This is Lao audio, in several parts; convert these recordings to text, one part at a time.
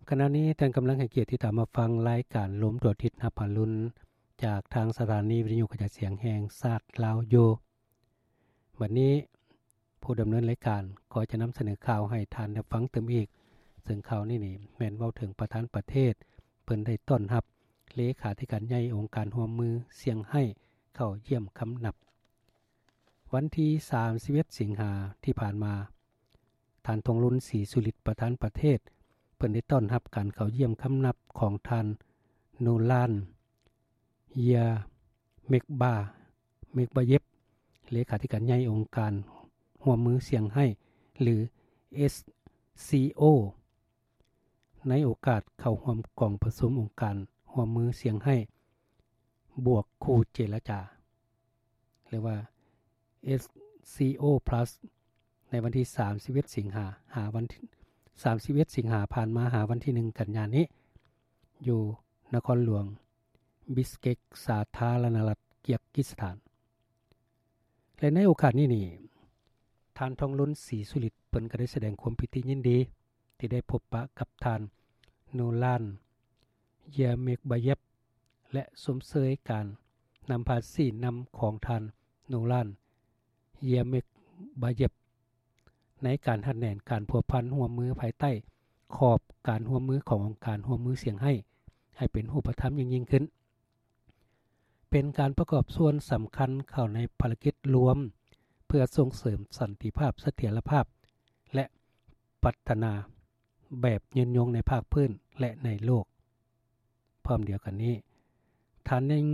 ຂະນະນີ້ທ່ານກຳລັງໃຫ້ກຽດຕິດຕາມຮັບຟັງລາຍການລົມທົ່ວທິດຮັບອາລຸນ ຈາກທາງສະຖານີວິທະຍຸກະຈາຍສຽງແຫ່ງຊາດລາວຢູ່. ບັດນີ້ຜູ້ດຳເນີນລາຍການກໍຈະນຳສະເໜີຂ່າວໃຫ້ທ່ານໄດ້ຟັງຕື່ມອີກ, ເຊິ່ງຂ່າວນີ້ນີ້ແມ່ນເວົ້າເຖິງປະທານປະເທດ ເພິ່ນໄດ້ຕ້ອນຮັບເລຂາທິການໃຫຍ່ອົງການຮ່ວມມືຊຽງໄຮ້ເຂົ້າຢ້ຽມຄຳນັບ. ວັນທີສາມສິບເອັດສິງຫາທີ່ຜ່ານມາ, ທ່ານ ທອງລຸນ ສີສຸລິດ ປະທານປະເທດ ເພິ່ນໄດ້ຕ້ອນຮັບການເຂົ້າຢ້ຽມຄຳນັບຂອງທ່ານ ໂນລານ ເຢຍເມັກບາ ເມັກບາເຢບ ເລຂາທິການໃຫຍ່ອົງການຮ່ວມມືຊຽງໄຮ້ ຫຼື ເອສຊີໂອ ໃນໂອກາດເຂົ້າຮ່ວມກອງປະຊຸມອົງການຮ່ວມມືຊຽງໄຮ້ ບວກຄູ່ເຈລະຈາ ຫຼືວ່າ ເອສຊີໂອ ພລັສ ໃນວັນທີສາມສິບເອັດສິງຫາ ຫາວັນທີ ສາມສິບເອັດສິງຫາຜ່ານມາ ຫາວັນທີໜຶ່ງກັນຍານີ້ ຢູ່ນະຄອນຫຼວງບິສເກກ ສາທາລະນະລັດກີກິສຖານ. ແລະ ໃນໂອກາດນີ້ນີ້ ທ່ານ ທອງລຸນ ສີສຸລິດ ເພິ່ນກໍໄດ້ສະແດງຄວາມປີຕິຍິນດີ ທີ່ໄດ້ພົບປະກັບທ່ານ ໂນລານ ເຢຍເມັກບາເຢບ ແລະ ຊົມເຊີຍການນຳພາຊີ້ນຳຂອງທ່ານ ໂນລານ ເຢຍເມັກບາເຢບ ໃນການຮັດແໜ້ນການພົວພັນຮ່ວມມືພາຍໃຕ້ຂອບການຮ່ວມມືຂອງອົງການຮ່ວມມືຊຽງໄຮ້ ໃຫ້ເປັນຮູບປະທຳຍິ່ງໆຂຶ້ນ, ເປັນການປະກອບສ່ວນສຳຄັນເຂົ້າໃນພາລະກິດລວມ ເພື່ອສົ່ງເສີມສັນຕິພາບ, ສະຖຽນລະພາບ ແລະ ພັດທະນາແບບຍືນຍົງໃນພາກພື້ນ ແລະ ໃນໂລກ. ພ້ອມດຽວກັນນີ້, ທ່ານຍັງ,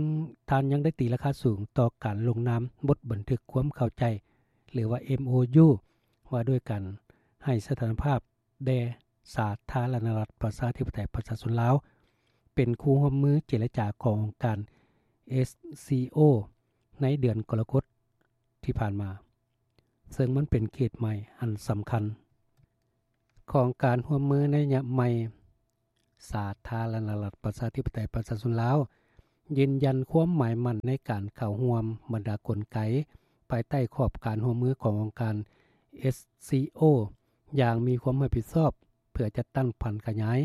ທ່ານຍັງໄດ້ຕີລາຄາສູງຕໍ່ການລົງນາມບົດບັນທຶກຄວາມເຂົ້າໃຈ ຫຼືວ່າ ເອັມໂອຢູ ວ່າດ້ວຍການໃຫ້ສະຖານະພາບແດ່ສາທາລະນະລັດປະຊາທິປະໄຕປະຊາຊົນລາວ ເປັນຄູ່ຮ່ວມມືເຈລະຈາຂອງອົງການ ເອສຊີໂອ ໃນເດືອນກໍລະກົດທີ່ຜ່ານມາ, ເຊິ່ງມັນເປັນເຂດໃໝ່ອັນສຳຄັນຂອງການຮ່ວມມືໃນໄລຍະໃໝ່. ສາທາລະນະລັດປະຊາທິປະໄຕປະຊາຊົນລາວ ຢືນຢັນຄວາມໝາຍໝັ້ນໃນການເຂົ້າຮ່ວມບັນດາກົນໄກ ພາຍໃຕ້ຂອບການຮ່ວມມືຂອງອົງການ ເອສຊີໂອ ຢ່າງມີຄວາມຮັບຜິດຊອບ ເພື່ອຈັດຕັ້ງຜັນຂະຫຍາຍ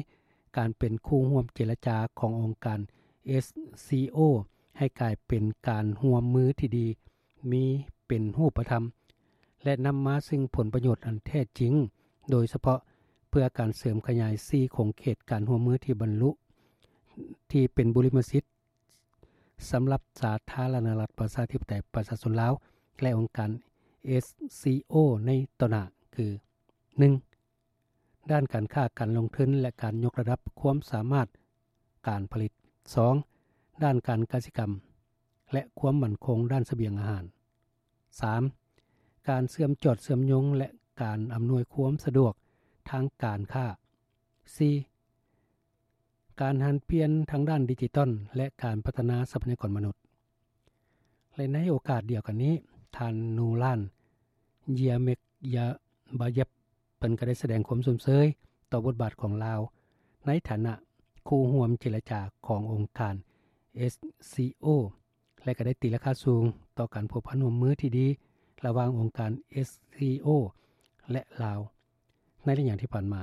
ການເປັນຄູ່ຮ່ວມເຈລະຈາຂອງອົງການ ເອສຊີໂອ ໃຫ້ກາຍເປັນການຮ່ວມມືທີ່ດີ ມີເປັນຮູບປະທຳ ແລະ ນຳມາຊຶ່ງຜົນປະໂຫຍດອັນແທ້ຈິງ, ໂດຍສະເພາະເພື່ອການເສີມຂະຫຍາຍສີ່ຂົງເຂດການຮ່ວມມືທີ່ບັນລຸ ທີ່ເປັນບຸລິມະສິດສຳລັບສາທາລະນະລັດປະຊາທິປະໄຕປະຊາຊົນລາວ ແລະ ອົງການ ເອສຊີໂອ ໃນຕໍ່ໜ້າ ຄື ໜຶ່ງ ດ້ານການຄ້າການລົງທຶນ ແລະ ການຍົກລະດັບຄວາມສາມາດການຜະລິດ, ສອງ ດ້ານການກະສິກຳ ແລະ ຄວາມໝັ້ນຄົງດ້ານສະບຽງອາຫານ, ສາມ ການເຊື່ອມຈອດເຊື່ອມໂຍງ ແລະ ການອຳນວຍຄວາມສະດວກທາງການຄ້າ, ສີ່ ການຫັນປ່ຽນທາງດ້ານດິຈິຕອນ ແລະ ການພັດທະນາຊັບພະຍາກອນມະນຸດ. ແລະ ໃນໂອກາດດຽວກັນນີ້, ທ່ານ ນູລານ ເຢຍເມັກຢາບາເຢບ ເພິ່ນກໍໄດ້ສະແດງຄວາມຊົມເຊີຍຕໍ່ບົດບາດຂອງລາວ ໃນຖານະຄູ່ຮ່ວມເຈລະຈາຂອງອົງການ ເອສຊີໂອ ແລະ ກໍໄດ້ຕີລາຄາສູງຕໍ່ການພົວພັນຮ່ວມມືທີ່ດີລະຫວ່າງອົງການ ເອສຊີໂອ ແລະ ລາວ ໃນໄລຍະທີ່ຜ່ານມາ,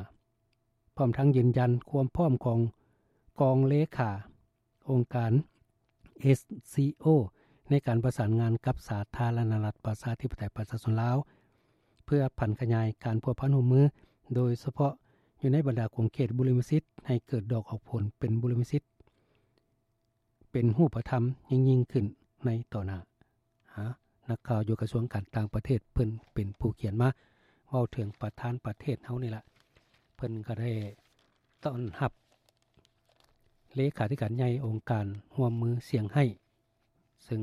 ພ້ອມທັງຢືນຢັນຄວາມພ້ອມຂອງກອງເລຂາ ອົງການ ເອສຊີໂອ ໃນການປະສານງານກັບສາທາລະນະລັດປະຊາທິປະໄຕປະຊາຊົນລາວ ເພື່ອຜັນຂະຫຍາຍການພົວພັນຮ່ວມມື, ໂດຍສະເພາະຢູ່ໃນບັນດາຂົງເຂດບຸລິມະສິດ ໃຫ້ເກີດດອກອອກຜົນເປັນບຸລິມະສິດ ເປັນຮູບປະທຳຍິ່ງໆຂຶ້ນໃນຕໍ່ໜ້າ. ຫາ ນັກຂ່າວຢູ່ກະຊວງການຕ່າງປະເທດ ເພິ່ນເປັນຜູ້ຂຽນມາເວົ້າເຖິງປະທານປະເທດເຮົານີ້ລະ, ເພິ່ນກໍໄດ້ຕ້ອນຮັບເລຂາທິການໃຫຍ່ອົງການຮ່ວມມືຊຽງໄຮ້ ເຊິ່ງ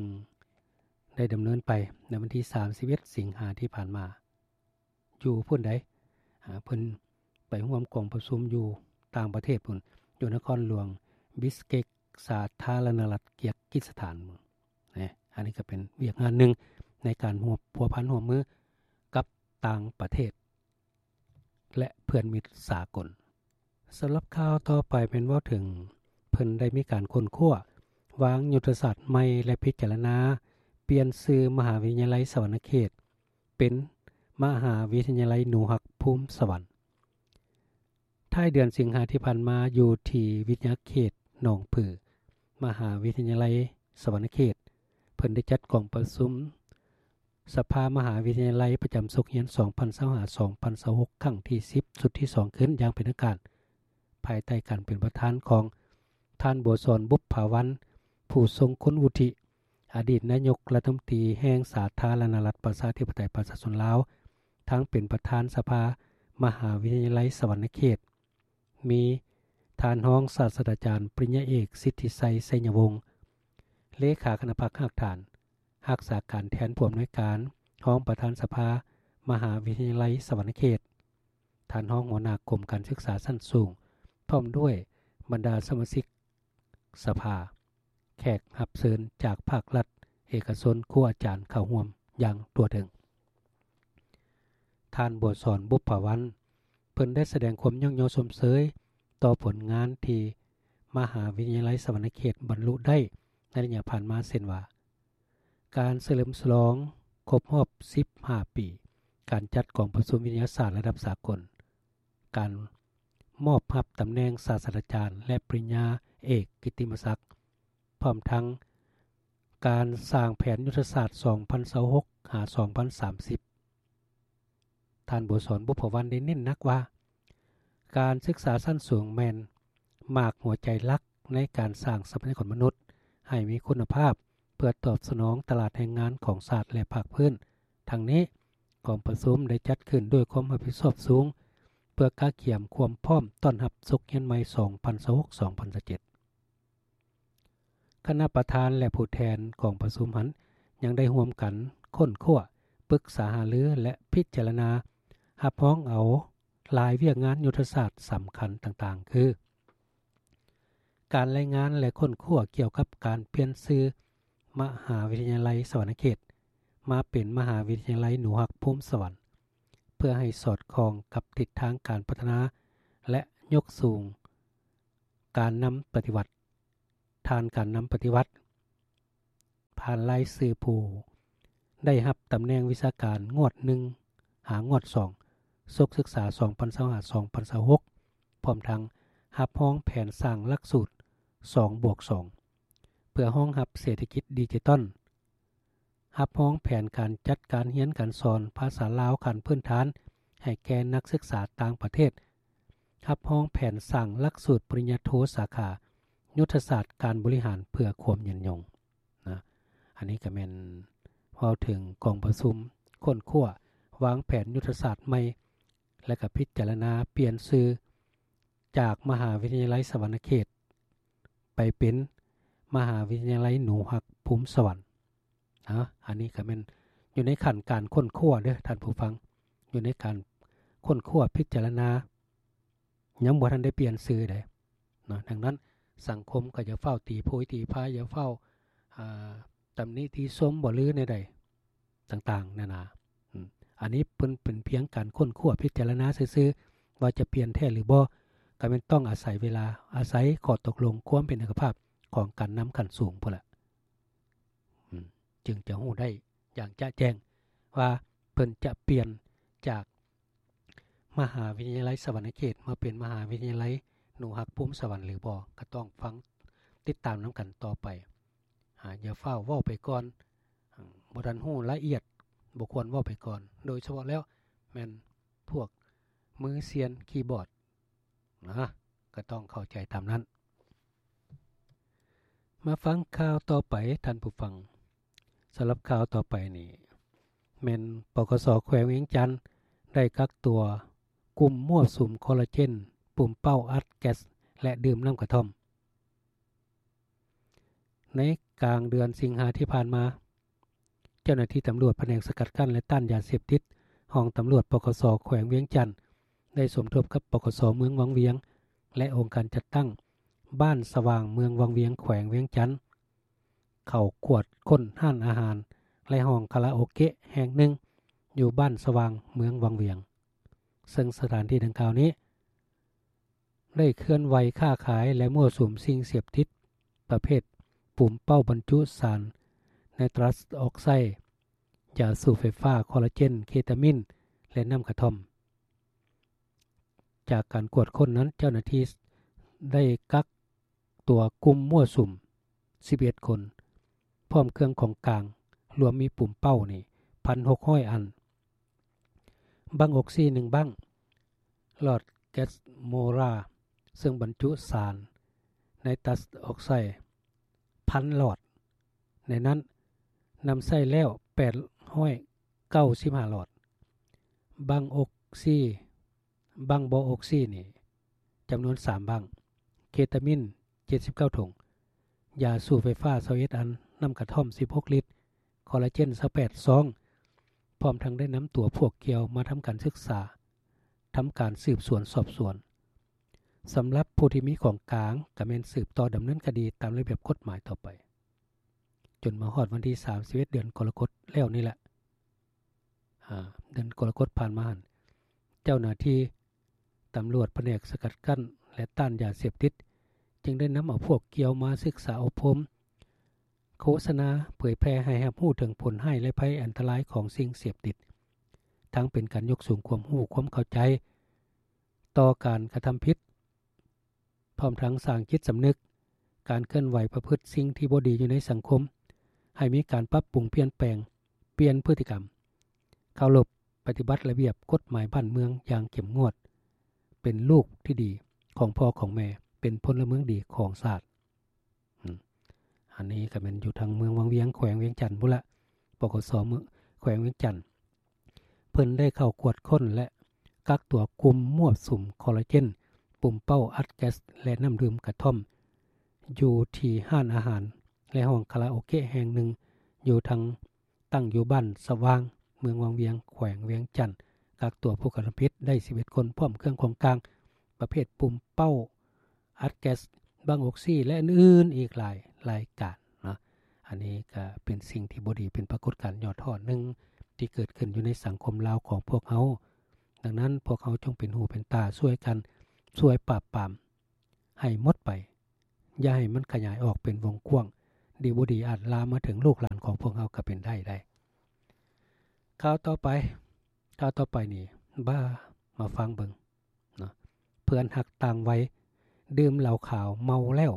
ໄດ້ດຳເນີນໄປໃນວັນທີສາມສິບເອັດສິງຫາທີ່ຜ່ານມາ ຢູ່ພຸ້ນໃດ໋ ອາ ເພິ່ນໄປຮ່ວມກອງປະຊຸມຢູ່ຕ່າງປະເທດພຸ້ນ ຢູ່ນະຄອນຫຼວງບິສເກກ ສາທາລະນະລັດກີກິສຖານ. ແນະ ອັນນີ້ກໍເປັນວຽກງານໜຶ່ງໃນການຮ່ວມ ພົວພັນຮ່ວມມືກັບຕ່າງປະເທດ ແລະ ເພື່ອນມິດສາກົນ. ສຳລັບຂ່າວຕໍ່ໄປແມ່ນເວົ້າເຖິງ ເພິ່ນໄດ້ມີການຄົ້ນຄວ້າວາງຍຸດທະສາດໃໝ່ ແລະ ພິຈາລະນາປ່ຽນຊື່ມະຫາວິທະຍາໄລສະຫວັນນະເຂດ ເປັນມະຫາວິທະຍາໄລໜູຮັກພູມສະຫວັນ. ທ້າຍເດືອນສິງຫາທີ່ຜ່ານມາ ຢູ່ທີ່ວິທະຍາເຂດໜອງຜື ມະຫາວິທະຍາໄລສະຫວັນນະເຂດ ເພິ່ນໄດ້ຈັດກອງປະຊຸມສະພາມະຫາວິທະຍາໄລປະຈຳສົກຮຽນ ສອງພັນຊາວຫ້າ ສອງພັນຊາວຫົກ ຄັ້ງທີສິບ ຊຸດທີສອງ ຂຶ້ນຢ່າງເປັນທາງການ ພາຍໃຕ້ການເປັນປະທານຂອງທ່ານ ບົວສອນ ບຸບຜາວັນ ຜູ້ຊົງຄຸນວຸດທິ ອະດີດນາຍົກລັດຖະມົນຕີແຫ່ງສາທາລະນະລັດ ປະຊາທິປະໄຕ ປະຊາຊົນລາວ ທັງເປັນປະທານສະພາມະຫາວິທະຍາໄລສະຫວັນນະເຂດ, ມີທ່ານຮອງສາດສະດາຈານ ປະລິນຍາເອກ ສິດທິໄຊ ໄຊຍະວົງ ເລຂາຄະນະພັກຮາກຖານ, ຮັກສາການແທນຜູ້ອຳນວຍການ, ຮອງປະທານສະພາມະຫາວິທະຍາໄລສະຫວັນນະເຂດ, ທ່ານຮອງຫົວໜ້າກົມການສຶກສາຊັ້ນສູງ ພ້ອມດ້ວຍບັນດາສະມາຊິກສະພາ, ແຂກຮັບເຊີນຈາກພາກລັດ, ເອກະຊົນ, ຄູອາຈານເຂົ້າຮ່ວມຢ່າງທົ່ວເຖິງ. ທ່ານ ບົວສອນ ບຸບຜາວັນ ເພິ່ນໄດ້ສະແດງຄວາມຍ້ອງຍໍຊົມເຊີຍຕໍ່ຜົນງານທີ່ມະຫາວິທະຍາໄລສະຫວັນນະເຂດບັນລຸໄດ້ໃນໄລຍະຜ່ານມາ ເຊັ່ນວ່າ ການສະເຫຼີມສະຫຼອງຄົບຮອບສິບຫ້າປີ ການຈັດກອງປະຊຸມວິທະຍາສາດລະດັບສາກົນ, ການມອບຮັບຕຳແໜ່ງສາດສະດາຈານ ແລະ ປະລິນຍາເອກກິດຕິມະສັກ, ພ້ອມທັງການສ້າງແຜນຍຸດທະສາດ ສອງພັນຊາວຫົກ ຫາ ສອງພັນສາມສິບ. ທ່ານ ບົວສອນ ບຸບຜາວັນ ໄດ້ເນັ້ນໜັກວ່າ ການສຶກສາຊັ້ນສູງແມ່ນໝາກຫົວໃຈຫຼັກໃນການສ້າງຊັບພະຍາກອນມະນຸດໃຫ້ມີຄຸນນະພາບ ເພື່ອຕອບສະໜອງຕະຫຼາດແຮງງານຂອງຊາດ ແລະ ພາກພື້ນ. ທັງນີ້, ກອງປະຊຸມໄດ້ຈັດຂຶ້ນດ້ວຍຄວາມຮັບຜິດຊອບສູງ ເພື່ອກະກຽມຄວາມພ້ອມຕ້ອນຮັບສົກຮຽນໃໝ່ ສອງພັນຊາວຫົກ ສອງພັນຊາວເຈັດ. ຄະນະປະທານ ແລະ ຜູ້ແທນກອງປະຊຸມຫັ້ນ ຍັງໄດ້ຮ່ວມກັນຄົ້ນຄວ້າ, ປຶກສາຫາລື ແລະ ພິຈາລະນາຮັບຮອງເອົາຫຼາຍວຽກງານຍຸດທະສາດສຳຄັນຕ່າງໆ ຄື ການລາຍງານ ແລະ ຄົ້ນຄວ້າກ່ຽວກັບການປ່ຽນຊື່ມະຫາວິທະຍາໄລສະຫວັນນະເຂດ ມາເປັນມະຫາວິທະຍາໄລໜູຮັກພູມສະຫວັນ ເພື່ອໃຫ້ສອດຄ່ອງກັບທິດທາງການພັດທະນາ ແລະ ຍົກສູງການນຳປະຕິວັດ. ທ່ານການນຳປະຕິວັດ ຜ່ານລາຍຊື່ຜູ້ໄດ້ຮັບຕຳແໜ່ງວິຊາການງວດໜຶ່ງ ຫາງວດສອງ ສົກສຶກສາ ສອງພັນຊາວຫ້າ ສອງພັນຊາວຫົກ ພ້ອມທັງຮັບຮອງແຜນສ້າງຫຼັກສູດ ສອງບວກສອງ ເພື່ອຮອງຮັບເສດຖະກິດດິຈິຕອນ, ຮັບຮອງແຜນການຈັດການຮຽນການສອນພາສາລາວຂັ້ນພື້ນຖານໃຫ້ແກ່ນັກສຶກສາຕ່າງປະເທດ, ຮັບຮອງແຜນສ້າງຫຼັກສູດປະລິນຍາໂທສາຂາຍຸດທະສາດການບໍລິຫານເພື່ອຄວາມຍືນຍົງ. ນະ ອັນນີ້ກໍແມ່ນເວົ້າເຖິງກອງປະຊຸມຄົ້ນຄວ້າວາງແຜນຍຸດທະສາດໃໝ່ ແລະ ກໍພິຈາລະນາປ່ຽນຊື່ຈາກມະຫາວິທະຍາໄລສະຫວັນນະເຂດ ໄປເປັນມະຫາວິທະຍາໄລໜູຮັກພູມສະຫວັນ. ນະ ອັນນີ້ກໍແມ່ນຢູ່ໃນຂັ້ນການຄົ້ນຄວ້າເດີ້ທ່ານຜູ້ຟັງ, ຢູ່ໃນການຄົ້ນຄວ້າພິຈາລະນາ ຍັງບໍ່ທັນໄດ້ປ່ຽນຊື່ເດ້ເນາະ. ດັ່ງນັ້ນ ສັງຄົມກໍຢ່າຟ້າວຕີໂພຍຕີພາຍ, ຢ່າຟ້າວ ອ່າ ຕຳໜິຕິຊົມບໍ ຫຼື ແນວໃດຕ່າງໆນານາ. ອາ ອັນນີ້ເພິ່ນເປັນພຽງການຄົ້ນຄວ້າພິຈາລະນາຊື່ໆ ວ່າຈະປ່ຽນແທ້ຫຼືບໍ່, ກໍແມ່ນຕ້ອງອາໄສເວລາ, ອາໄສຂໍ້ຕົກລົງຄວາມເປັນເອກະພາບຂອງການນຳຂັ້ນສູງພຸ້ນລະ. ອາ ຈຶ່ງຈະຮູ້ໄດ້ຢ່າງຈະແຈ້ງວ່າເພິ່ນຈະປ່ຽນຈາກມະຫາວິທະຍາໄລສະຫວັນນະເຂດມາເປັນມະຫາວິທະຍາໄລໜູຮັກພູມສະຫວັນຫຼືບໍ່, ກໍຕ້ອງຟັງຕິດຕາມນຳກັນຕໍ່ໄປ. ອາ ຢ່າຟ້າວເວົ້າໄປກ່ອນ, ອາ ບໍ່ທັນຮູ້ລະອຽດ, ບໍ່ຄວນເວົ້າໄປກ່ອນ, ໂດຍສະເພາະແລ້ວແມ່ນພວກມືຊຽນຄີບອດ. ນະ ກໍຕ້ອງເຂົ້າໃຈຕາມນັ້ນ. ມາຟັງຂ່າວຕໍ່ໄປທ່ານຜູ້ຟັງ. ສຳລັບຂ່າວຕໍ່ໄປນີ້ ແມ່ນ ປກສ ແຂວງວຽງຈັນ ໄດ້ກັກຕົວກຸ່ມມົ້ວສຸມຄໍລາເຈນ, ປຸມເປົ້າອັດແກັສ ແລະ ດື່ມນ້ຳກະທ່ອມ. ໃນກາງເດືອນສິງຫາທີ່ຜ່ານມາ, ເຈົ້າໜ້າທີ່ຕຳຫຼວດພະແນກສະກັດກັ້ນ ແລະ ຕ້ານຢາເສບຕິດ ຫ້ອງຕຳຫຼວດ ປກສ ແຂວງວຽງຈັນ ໄດ້ສົມທົບກັບ ປກສ ເມືອງວັງວຽງ ແລະ ອົງການຈັດຕັ້ງບ້ານສະຫວ່າງ ເມືອງວັງວຽງ ແຂວງວຽງຈັນ ເຂົ້າກວດຄົ້ນຮ້ານອາຫານ ແລະ ຫ້ອງຄາຣາໂອເກະແຫ່ງໜຶ່ງ ຢູ່ບ້ານສະຫວ່າງ ເມືອງວັງວຽງ, ເຊິ່ງສະຖານທີ່ດັ່ງກ່າວນີ້ ໄດ້ເຄື່ອນໄຫວຄ້າຂາຍ ແລະ ມົ້ວສຸມສິ່ງເສບຕິດປະເພດປຸມເປົ້າບັນຈຸສານໄນຕຣັສອອກໄຊ, ຢາສູບໄຟຟ້າ, ຄໍລາເຈນ, ເຄຕາມິນ ແລະ ນ້ຳກະທ່ອມ. ຈາກການກວດຄົ້ນນັ້ນ ເຈົ້າໜ້າທີ່ໄດ້ກັກຕົວກຸ່ມມົ້ວສຸມສິບເອັດຄົນ ພ້ອມເຄື່ອງຂອງກາງ ລວມມີປຸມເປົ້ານີ້ ໜຶ່ງພັນຫົກຮ້ອຍອັນ, ບັ້ງອົກຊີໜຶ່ງບັ້ງ, ຫຼອດແກັສໂມລາ ເຊິ່ງບັນຈຸສານໄນຕັສອອກໄຊພັນຫຼອດ, ໃນນັ້ນນຳໃຊ້ແລ້ວແປດຮ້ອຍເກົ້າສິບຫ້າຫຼອດ, ບັ້ງອົກຊີ ບັ້ງບໍ່ອົກຊີນີ້ຈຳນວນສາມບັ້ງ, ເຄຕາມິນເຈັດສິບເກົ້າຖົງ, ຢາສູບໄຟຟ້າຊາວເອັດອັນ, ນ້ຳກະທ່ອມສິບຫົກລິດ, ຄໍລາເຈນຊາວແປດຊອງ, ພ້ອມທັງໄດ້ນຳຕົວພວກກ່ຽວມາທຳການສຶກສາ, ທຳການສືບສວນສອບສວນ. ສຳລັບຜູ້ທີ່ມີຂອງກາງ ກໍແມ່ນສືບຕໍ່ດຳເນີນຄະດີຕາມລະບຽບກົດໝາຍຕໍ່ໄປ. ຈົນມາຮອດວັນທີສາມສິບເອັດ ເດືອນກໍລະກົດແລ້ວນີ້ແຫຼະ ອາ ເດືອນກໍລະກົດຜ່ານມາຫັ້ນ ເຈົ້າໜ້າທີ່ຕຳຫຼວດພະແນກສະກັດກັ້ນ ແລະ ຕ້ານຢາເສບຕິດ ຈຶ່ງໄດ້ນຳເອົາພວກກ່ຽວມາສຶກສາອົບຮົມ, ໂຄສະນາເຜີຍແຜ່ໃຫ້ຮັບຮູ້ເຖິງຜົນຮ້າຍ ແລະ ໄພອັນຕະລາຍຂອງສິ່ງເສບຕິດ, ທັງເປັນການຍົກສູງຄວາມຮູ້ຄວາມເຂົ້າໃຈຕໍ່ການກະທຳຜິດ, ພ້ອມທັງສ້າງຈິດສຳນຶກ ການເຄື່ອນໄຫວປະພຶດສິ່ງທີ່ບໍ່ດີຢູ່ໃນສັງຄົມ, ໃຫ້ມີການປັບປຸງປ່ຽນແປງ, ປ່ຽນພຶດຕິກຳ, ເຄົາລົບປະຕິບັດລະບຽບກົດໝາຍບ້ານເມືອງຢ່າງເຂັ້ມງວດ, ເປັນລູກທີ່ດີຂອງພໍ່ຂອງແມ່, ເປັນພົນລະເມືອງດີຂອງຊາດ. ອາ ອັນນີ້ກໍແມ່ນຢູ່ທາງເມືອງວັງວຽງ ແຂວງວຽງຈັນພຸ້ນລະ, ປກສ ເມືອງ ແຂວງວຽງຈັນ. ເພິ່ນໄດ້ເຂົ້າກວດຄົ້ນ ແລະ ກັກຕົວກຸ່ມມົ້ວສຸມຄໍລາເຈນ, ປຸມເປົ້າອັດແກັສ ແລະ ນ້ຳດື່ມກະທ່ອມ ຢູ່ທີ່ຮ້ານອາຫານ ແລະ ຫ້ອງຄາຣາໂອເກະແຫ່ງໜຶ່ງ ຢູ່ທາງ ຕັ້ງຢູ່ບ້ານສະຫວ່າງ ເມືອງວັງວຽງ ແຂວງວຽງຈັນ. ກັກຕົວຜູ້ກະທຳຜິດໄດ້ສິບເອັດຄົນ ພ້ອມເຄື່ອງຂອງກາງ ປະເພດປຸມເປົ້າອັດແກັສ, ບັ້ງອົກຊີ ແລະ ອື່ນໆອີກຫຼາຍລາຍການເນາະ. ອັນນີ້ກໍເປັນສິ່ງທີ່ບໍ່ດີ, ເປັນປາກົດການຍອດຮອດໜຶ່ງທີ່ເກີດຂຶ້ນຢູ່ໃນສັງຄົມລາວຂອງພວກເຮົາ. ດັ່ງນັ້ນ ພວກເຮົາຈົ່ງເປັນຫູເປັນຕາຊ່ວຍກັນ, ຊ່ວຍປາບປາມໃຫ້ໝົດໄປ, ຢ່າໃຫ້ມັນຂະຫຍາຍອອກເປັນວົງກວ້າງ, ດີບໍ່ດີອາດລາມມາເຖິງລູກຫຼານຂອງພວກເຮົາກໍເປັນໄດ້ໄດ໋. ຂ່າວຕໍ່ໄປ, ຂ່າວຕໍ່ໄປນີ້ ບ້າ ມາຟັງເບິ່ງເນາະ. ເພື່ອນຮັກຕ່າງໄວ ດື່ມເຫຼົ້າຂາວເມົາແລ້ວ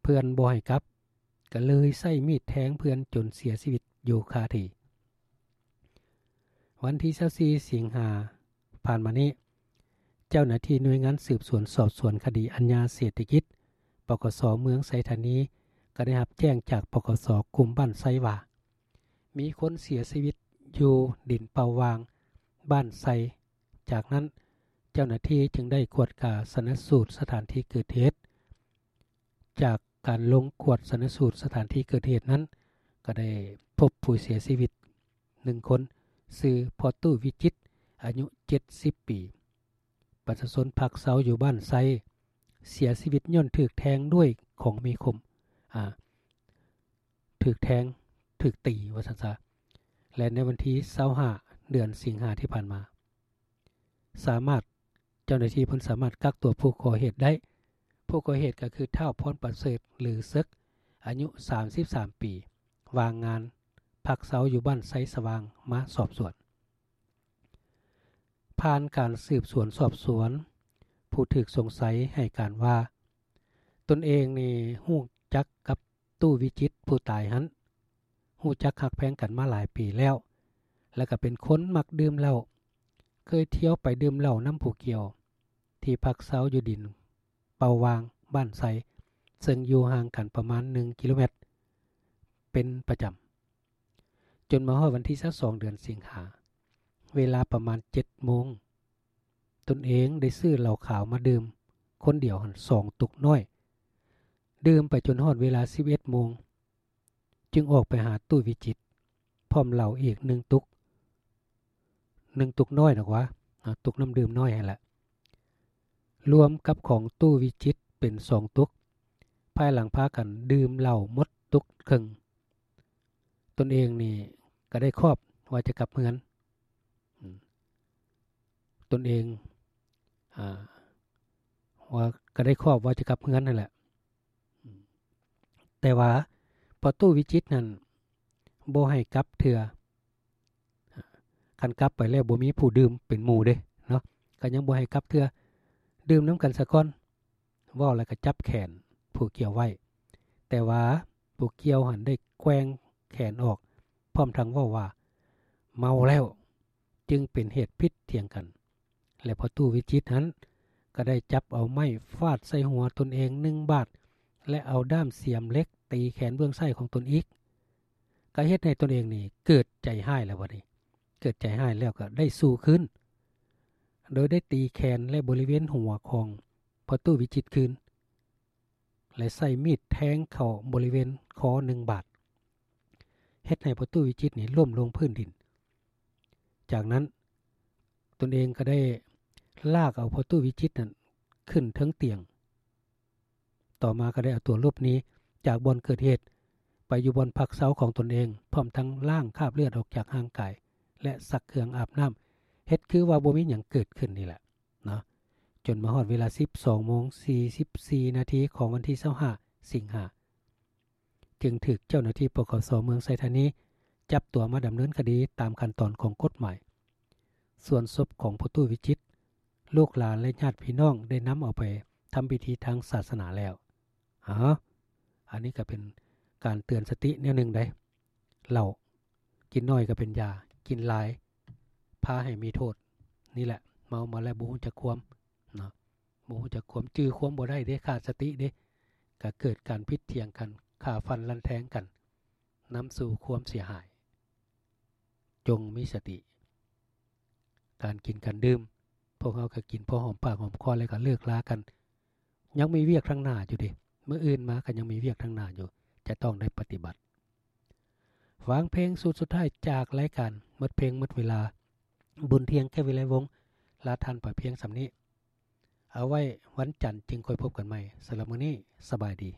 ເພື່ອນບໍ່ໃຫ້ກັບ ກໍເລີຍໃຊ້ມີດແທງເພື່ອນຈົນເສຍຊີວິດຢູ່ຄາທີ່. ວັນທີຊາວສີ່ ສິງຫາ ຜ່ານມານີ້, ເຈົ້າໜ້າທີ່ໜ່ວຍງານສືບສວນສອບສວນຄະດີອາຍາເສດຖະກິດ ປກສ ເມືອງໄຊທານີ ກໍໄດ້ຮັບແຈ້ງຈາກ ປກສ ກຸ່ມບ້ານໄຊວ່າ ມີຄົນເສຍຊີວິດຢູ່ດິນເປົ່າຫວ່າງ ບ້ານໄຊ. ຈາກນັ້ນ ເຈົ້າໜ້າທີ່ຈຶ່ງໄດ້ກວດກາຊະນະສູດສະຖານທີ່ເກີດເຫດ. ຈາກການລົງກວດຊະນະສູດສະຖານທີ່ເກີດເຫດນັ້ນ ກໍໄດ້ພົບຜູ້ເສຍຊີວິດໜຶ່ງຄົນ, ຊື່ ພໍ່ຕູ້ ວິຈິດ ອາຍຸເຈັດສິບປີ, ປະຊາຊົນພັກເຊົາຢູ່ບ້ານໄຊ, ເສຍຊີວິດຍ້ອນຖືກແທງດ້ວຍຂອງມີຄົມ, ອາ, ຖືກແທງ, ຖືກຕີ ວ່າຊັ້ນຊະ. ແລະ ໃນວັນທີຊາວຫ້າ ເດືອນສິງຫາທີ່ຜ່ານມາ, ສາມາດ, ເຈົ້າໜ້າທີ່ເພິ່ນສາມາດກັກຕົວຜູ້ກໍ່ເຫດໄດ້. ຜູ້ກໍ່ເຫດກໍຄື ທ້າວ ພອນປະເສີດ ຫຼື ເສິກ ອາຍຸສາມສິບສາມປີ, ວ່າງງານ, ພັກເຊົາຢູ່ບ້ານໄຊສະຫວ່າງ ມາສອບສວນ. ຜ່ານການສືບສວນສອບສວນ, ຜູ້ຖືກສົງໄສໃຫ້ການວ່າ ຕົນເອງນີ້ຮູ້ຈັກກັບ ຕູ້ ວິຈິດ ຜູ້ຕາຍຫັ້ນ ຮູ້ຈັກຮັກແພງກັນມາຫຼາຍປີແລ້ວ ແລະ ກໍເປັນຄົນມັກດື່ມເຫຼົ້າ, ເຄີຍທ່ຽວໄປດື່ມເຫຼົ້ານຳຜູ້ກ່ຽວ ທີ່ພັກເຊົາຢູ່ດິນເປົ່າຫວ່າງ ບ້ານໄຊ, ເຊິ່ງຢູ່ຫ່າງກັນປະມານໜຶ່ງກິໂລແມັດ ເປັນປະຈຳ. ຈົນມາຮອດວັນທີຊາວສອງ ເດືອນສິງຫາ, ເວລາປະມານເຈັດໂມງ, ຕົນເອງໄດ້ຊື້ເຫຼົ້າຂາວມາດື່ມຄົນດຽວຫັ້ນສອງຕຸກນ້ອຍ, ດື່ມໄປຈົນຮອດເວລາສິບເອັດໂມງ, ຈຶ່ງອອກໄປຫາຕູ້ ວິຈິດ ພ້ອມເຫຼົ້າອີກໜຶ່ງຕຸກ, ໜຶ່ງຕຸກນ້ອຍດອກຫວາ, ອາ, ຕຸກນ້ຳດື່ມນ້ອຍຫັ້ນແຫຼະ, ລວມກັບຂອງຕູ້ ວິຈິດ ເປັນສອງຕຸກ. ພາຍຫຼັງພາກັນດື່ມເຫຼົ້າໝົດຕຸກເຄິ່ງ, ຕົນເອງນີ້ກໍໄດ້ຄອບວ່າຈະກັບເຮືອນ. ອືມ ຕົນເອງ, ອາ, ວ່າກໍໄດ້ຄອບວ່າຈະກັບເຮືອນຫັ້ນແຫຼະ. ອືມ ແຕ່ວ່າພໍ່ຕູ້ ວິຈິດ ນັ້ນບໍ່ໃຫ້ກັບເທື່ອ. ຄັນກັບໄປແລ້ວບໍ່ມີຜູ້ດື່ມເປັນໝູ່ເດ້ເນາະ, ກໍຍັງບໍ່ໃຫ້ກັບເທື່ອ. ດື່ມນຳກັນສາກ່ອນ ເວົ້າແລ້ວກໍຈັບແຂນຜູ້ກ່ຽວໄວ້ ແຕ່ວ່າຜູ້ກ່ຽວຫັ້ນໄດ້ແກວ່ງແຂນອອກ ພ້ອມທັງເວົ້າວ່າ ເມົາແລ້ວ ຈຶ່ງເປັນເຫດຜິດຖຽງກັນ ແລະ ພໍ່ຕູ້ວິຈິດຫັ້ນ ກໍໄດ້ຈັບເອົາໄມ້ຟາດໃສ່ຫົວຕົນເອງໜຶ່ງບາດ ແລະ ເອົາດ້າມສຽມເຫຼັກຕີແຂນເບື້ອງຊ້າຍຂອງຕົນອີກ ກໍເຮັດໃຫ້ຕົນເອງນີ້ເກີດໃຈຮ້າຍແລ້ວບັດນີ້ ເກີດໃຈຮ້າຍແລ້ວກໍໄດ້ສູ້ຄືນ ໂດຍໄດ້ຕີແຂນ ແລະ ບໍລິເວນຫົວຂອງພໍ່ຕູ້ວິຈິດຄືນ ແລະ ໃຊ້ມີດແທງເຂົ້າບໍລິເວນຄໍໜຶ່ງບາດ ເຮັດໃຫ້ພໍ່ຕູ້ວິຈິດນີ້ລົ້ມລົງພື້ນດິນ. ຈາກນັ້ນຕົນເອງກໍໄດ້ລາກເອົາພໍ່ຕູ້ວິຈິດນັ້ນຂຶ້ນເທິງຕຽງ ຕໍ່ມາກໍໄດ້ເອົາຕົວຫຼົບໜີຈາກບ່ອນເກີດເຫດ ໄປຢູ່ບ່ອນພັກເຊົາຂອງຕົນເອງ ພ້ອມທັງລ້າງຄາບເລືອດອອກຈາກຮ່າງກາຍ ແລະ ຊັກເຄື່ອງອາບນ້ຳ ເຮັດຄືວ່າບໍ່ມີຫຍັງເກີດຂຶ້ນນີ້ແຫຼະເນາະ ຈົນມາຮອດເວລາສິບສອງໂມງສີ່ສິບສີ່ນາທີຂອງວັນທີຊາວຫ້າ ສິງຫາ ຈຶ່ງຖືກເຈົ້າໜ້າທີ່ ປກສ ເມືອງໄຊທານີ ຈັບຕົວມາດຳເນີນຄະດີຕາມຂັ້ນຕອນຂອງກົດໝາຍ. ສ່ວນສົບຂອງພໍ່ຕູ້ວິຈິດ ລູກຫຼານ ແລະ ຍາດພີ່ນ້ອງໄດ້ນຳເອົາໄປທຳພິທີທາງສາສະໜາແລ້ວ. ເອົາ ອັນນີ້ກໍເປັນການເຕືອນສະຕິແນວໜຶ່ງໃດ໋ ເຫຼົ້າ ກິນໜ້ອຍກໍເປັນຢາ ກິນຫຼາຍພາໃຫ້ມີໂທດ. ນີ້ແຫຼະ ເມົາມາແລ້ວບໍ່ຮູ້ຈັກຄວາມເນາະ ບໍ່ຮູ້ຈັກຄວາມ ຈື່ຄວາມບໍ່ໄດ້ເດ້ ຂາດສະຕິເດ້ ກໍເກີດການຜິດຖຽງກັນ ຂ້າຟັນລັນແທງກັນ ນຳສູ່ຄວາມເສຍຫາຍ. ຈົ່ງມີສະຕິ ການກິນການດື່ມ ພວກເຮົາກໍກິນພໍຫອມປາກຫອມຄໍແລ້ວກໍເລີກລາກັນ ຍັງມີວຽກທາງໜ້າຢູ່ເດ້ ມື້ອື່ນມາກໍຍັງມີວຽກທາງໜ້າຢູ່ ຈະຕ້ອງໄດ້ປະຕິບັດ. ຟັງເພງຊຸດສຸດທ້າຍຈາກລາຍການໝົດເພງໝົດເວລາ ບຸນທ່ຽງ ແກ້ວວິໄລວົງ ລາທ່ານໄປພຽງສ່ຳນີ້. ເອົາໄວ້ວັນຈັນຈຶ່ງຄ່ອຍພົບກັນໃໝ່. ສຳລັບມື້ນີ້ ສະບາຍດີ.